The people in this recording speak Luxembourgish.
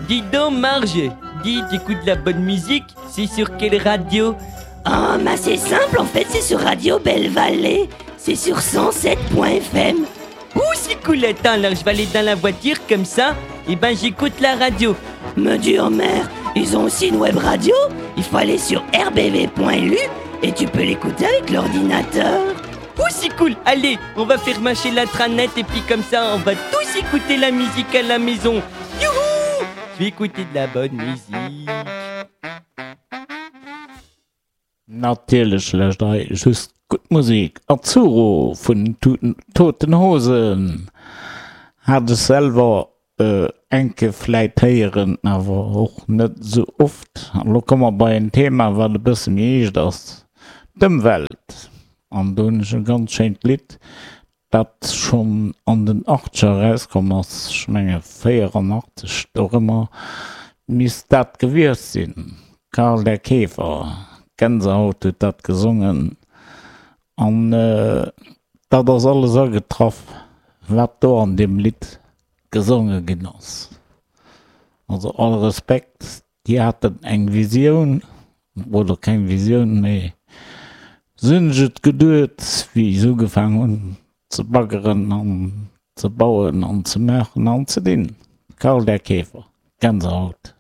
Dis donc Marge, dis t'écoutes la bonne musique, c'est sur quelle radio Oh, bah c'est simple en fait, c'est sur Radio Belle Vallée, c'est sur 107.fm. Ouh, c'est cool, attends, alors je vais aller dans la voiture comme ça, et ben j'écoute la radio. Me dis Homer, ils ont aussi une web radio, il faut aller sur rbv.lu et tu peux l'écouter avec l'ordinateur. Ouh, c'est cool, allez, on va faire marcher l'intranet et puis comme ça, on va tous écouter la musique à la maison. Youhou Je vais écouter de la bonne musique. Natierlech lëscht hei just gutt Musek. Azzurro vun Toten Hosen hat ech selwer enke vläit héieren, awer och net esou oft. An elo komme mer bei en Thema wat e bësse méi eescht ass, d'Ëmwelt. An do hunn ech e ganz schéint Lidd, dat schonn an den Achtzeger erauskomm ass, ech menge 84, dorëmmer misst dat gewiescht sinn, Karl der Käfer, Gänsehaut huet dat gesongen an dat ass alles agetraff, wat do an deem Lidd gesonge ginn ass. Also all Respekt, Déi haten eng Visioun, oder keng Visioun, mee se hunn sech et geduet, wéi se ugefaang hunn ze baggeren an ze bauen an ze maachen an ze dinn. Karl der Käfer, Gänsehaut.